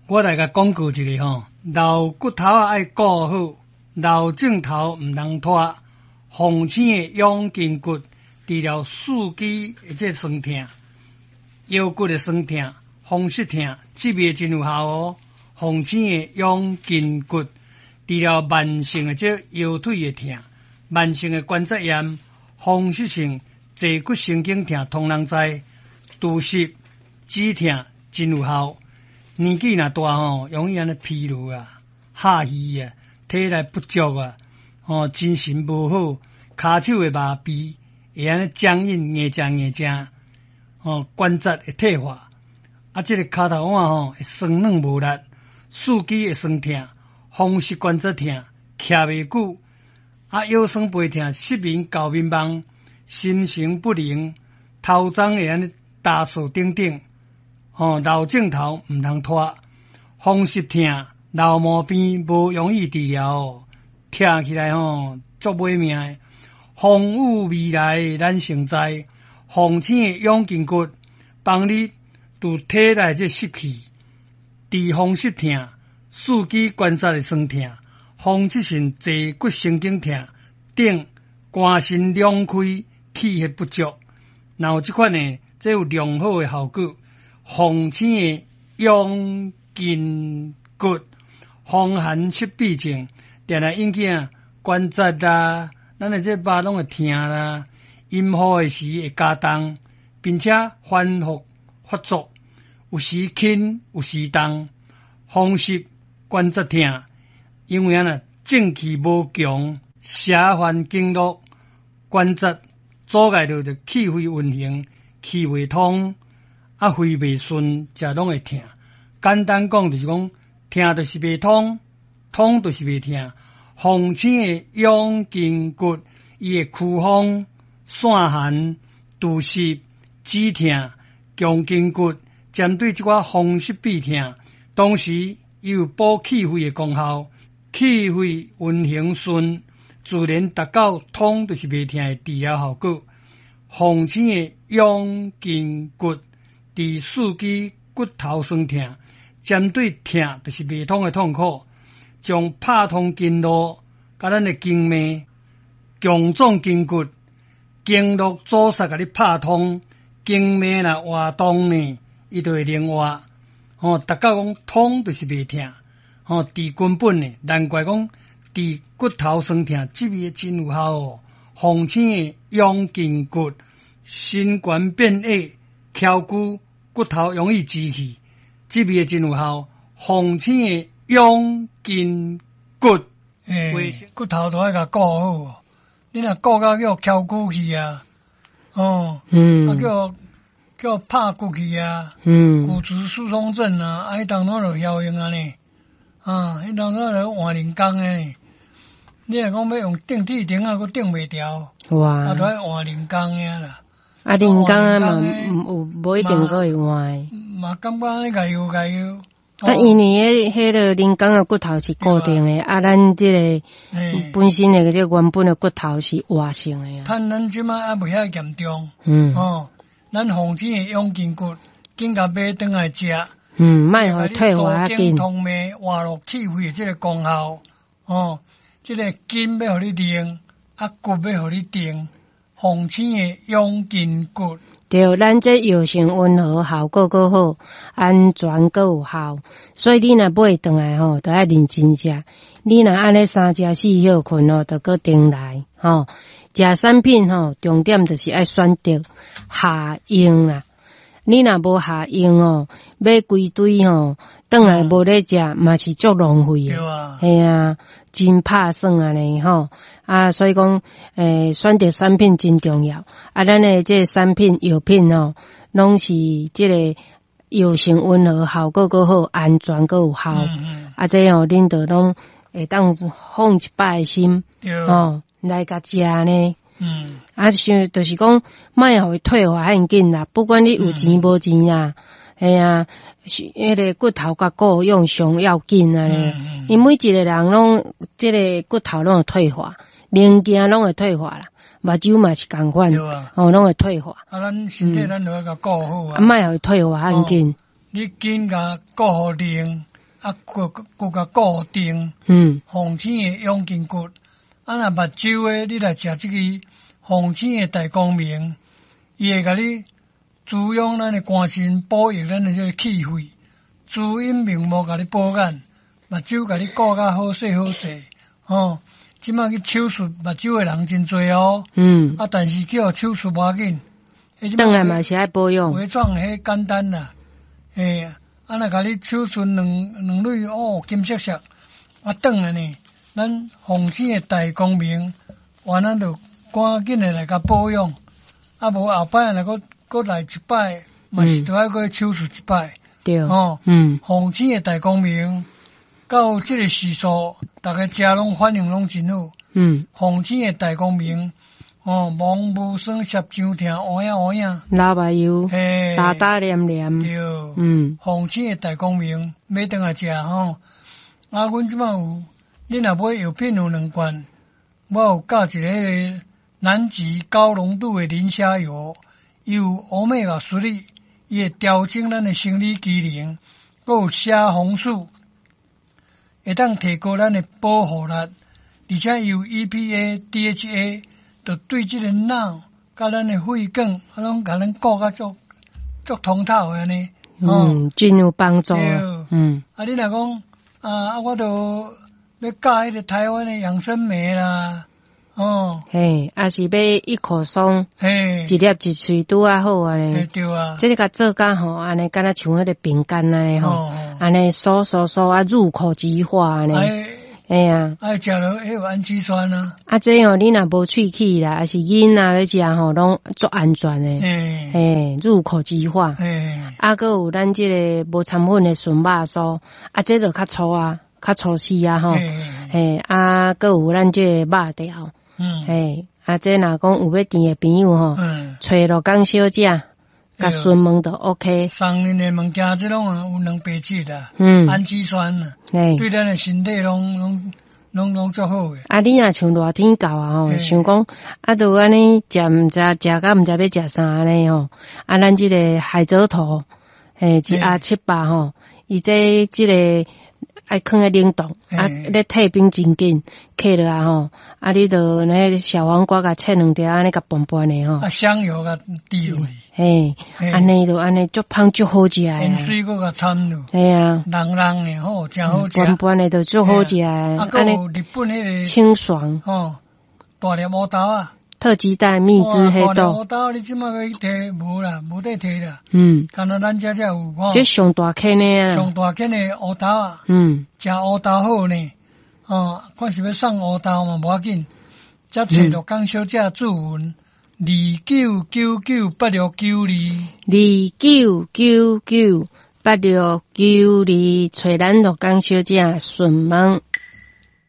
我來共廣告一下吼，老骨頭仔愛顧好，老症頭毋通拖。鳳青的養筋骨，治療四肢的這痠痛、腰骨的痠痛、風濕痛，這味真有效哦。鳳青的養筋骨，治療慢性的這腰腿的痛、慢性的關節炎、風濕性坐骨神經痛，通人知，除濕止痛真有效。年紀若大吼，容易按呢疲勞啊、下虛啊、體力不足啊，吼精神無好，跤手會麻痹，會按呢僵硬硬正硬正，吼關節會退化，啊，這個跤頭腕吼會酸軟無力，四肢會痠痛，風濕關節痛，徛袂久，啊腰酸背痛、失眠、搞眠夢、心神不寧、頭鬃會按呢焦燥等等。吼，老症頭毋通拖，風濕痛、老毛病無容易治療，疼起來吼足欲命的。風雨未來咱先知，鳳青的養筋骨，幫你除體內這濕氣，治風濕痛、四肢關節的痠痛、風濕性坐骨神經痛等，肝腎兩虧、氣血不足，若有這款的，這有良好的效果。鳳青的養筋骨，風寒濕痹症，定定引起啊關節啦，咱的這肉攏會疼啦，陰雨的時會加重，並且反覆發作，有時輕有時重，風濕關節疼，因為按呢正氣無強，邪犯經絡關節阻礙著就氣血運行，氣袂通。啊，肺袂順，食攏會疼。簡單講就是講，疼就是袂通，通就是袂疼。鳳青的養筋骨，伊會驅風、散寒、除濕、止疼、強筋骨，針對這寡風濕痹疼，同時伊有補氣血的功效，氣血運行順，自然達到通就是袂疼的治療效果。鳳青的養筋骨，治四肢骨頭痠疼，針對疼就是袂通的痛苦，將拍通經絡，佮咱的經脈，強壯筋骨，經絡阻塞共你拍通，經脈若活動呢，伊就會靈活。吼，達到講通就是袂疼，吼，治根本的，難怪講治骨頭痠疼，這味真有效哦。鳳青的養筋骨，身懸變矮，翹骨。骨頭容易支氣，這味真有效。鳳青的養筋骨，欸，骨頭都愛共顧好。你若顧甲叫翹骨去啊，哦，啊叫叫拍骨去啊，骨質疏鬆症啊，啊，彼當陣就曉用啊呢，啊，彼當陣就換人工的。你若講欲用釘鐵釘仔，閣釘袂牢，哇，啊，都愛換人工的啦。啊，人工啊嘛，有無一定閣會換。嘛感覺按呢共搖共搖。啊，因為彼彼个人工的骨頭是固定的，啊，咱這个本身的這個原本的骨頭是活性的啊。趁咱這擺猶未遐嚴重，哦，咱鳳青的養筋骨，緊共買轉來食。嗯，莫予退化較緊。通脈活絡氣血的這個功效，哦，這個筋欲予你靈，啊骨欲予你定。鳳青的養筋骨，對，咱這藥性溫和，效果閣好，安全閣有效，所以你若買轉來吼，就愛認真食。你若按呢三食四歇睏吼，就閣重來吼。食產品吼，重點就是愛選擇合用啦。你若無合用哦，買規堆吼，轉來無咧食，嘛是足浪費的。嘿啊，真拍算按呢吼。啊，所以講，選擇產品真重要。啊，咱的這個產品藥品吼，攏是這個藥性溫和，效果閣好，安全閣有效。啊，這哦，恁就攏會當放一擺的心，吼，來共食呢。啊，像就是講，莫予伊退化遐緊啦。不管你有錢無錢啊，嘿啊，是彼个骨頭共顧養上要緊按呢。因每一個人攏這个骨頭攏會退化，零件攏會退化啦，目睭嘛是仝款，哦，攏會退化。啊，咱身體咱就愛共顧好啊。啊，莫予伊退化遐緊。你緊共顧好靈，啊，骨骨共固定。鳳青的養筋骨，啊，若目睭的，你來食這支鳳青的大光明，伊會共你滋養咱的肝腎，補益咱的這個氣血，滋陰明目，共你補眼，目睭共你顧甲好勢好勢，吼。這馬去手術目睭的人真濟哦。啊，但是去予手術無要緊。轉來嘛是愛保養。微創彼簡單啦，嘿，啊，若共你手術兩兩蕊哦，金閃閃，啊，轉來呢，咱鳳青的大光明，完咱就趕緊的來共保養，啊，無後擺若閣閣來一擺，嘛是著愛閣手術一擺。對。吼，鳳青的大光明，到這個時數，逐家食攏反應攏真好。鳳青的大光明。哦，毛無酸澀脹疼，烏影烏影，流目油，嘿，焦焦黏黏，對，鳳青的大光明買轉來食吼。啊，阮這馬有，你若買藥品有兩罐，我有加一个彼个南極高濃度的磷蝦油，伊有歐米伽3，伊會調整咱的生理機能，閣有蝦紅素，會當提高咱的保護力，而且伊有 EPA、DHA。就對這個腦佮咱的血管，啊，攏共咱顧甲足足通透的按呢。嗯，真有幫助。啊，你若講啊，我著欲教彼個台灣的養生酶啦，哦。嘿，抑是欲一口鬆，一粒一喙拄仔好按呢。對啊。這個共做甲吼，按呢敢若像彼個餅乾按呢吼，按呢酥酥酥啊，入口即化按呢。嘿啊，愛食落彼有氨基酸啊。啊，這哦，你若無喙齒啦，抑是囡仔欲食吼，攏足安全的。嘿，入口即化。啊，閣有咱這個無摻粉的純肉酥，啊，這就較粗啊，較粗細啊吼。嘿，啊，閣有咱這個肉條。嘿，啊，這若講有欲甜的朋友吼，揣鹿港小姐，共詢問就 OK。送恁的物件，這攏有蛋白質啦，氨基酸啦，對咱的身體攏攏攏攏足好的。啊，你若像熱天到啊吼，想講啊，就按呢食毋知食甲毋知欲食啥按呢吼，啊，咱這個海蜇頭，嘿，一盒700吼，伊這這個愛囥咧冷凍，啊，咧退冰真緊，放落來吼，啊，你就那小黃瓜共切兩條，按呢共拌拌的吼。啊，香油共滴落去。嘿，按呢就按呢足芳足好食的。鹽水閣共摻落。嘿啊。濃濃的吼，誠好食。拌拌的就足好食的。啊，閣有日本彼个清爽。吼，大粒烏豆仔。特級帶蜜汁黑豆。烏豆你這馬欲去提無啦，無得提啦。敢若咱遮才有吼。這上大顆的啊。上大顆的烏豆仔。食烏豆好呢，哦，看是欲送烏豆嘛無要緊。才揣鹿港小姐注文29998692。29998692，揣咱鹿港小姐詢問。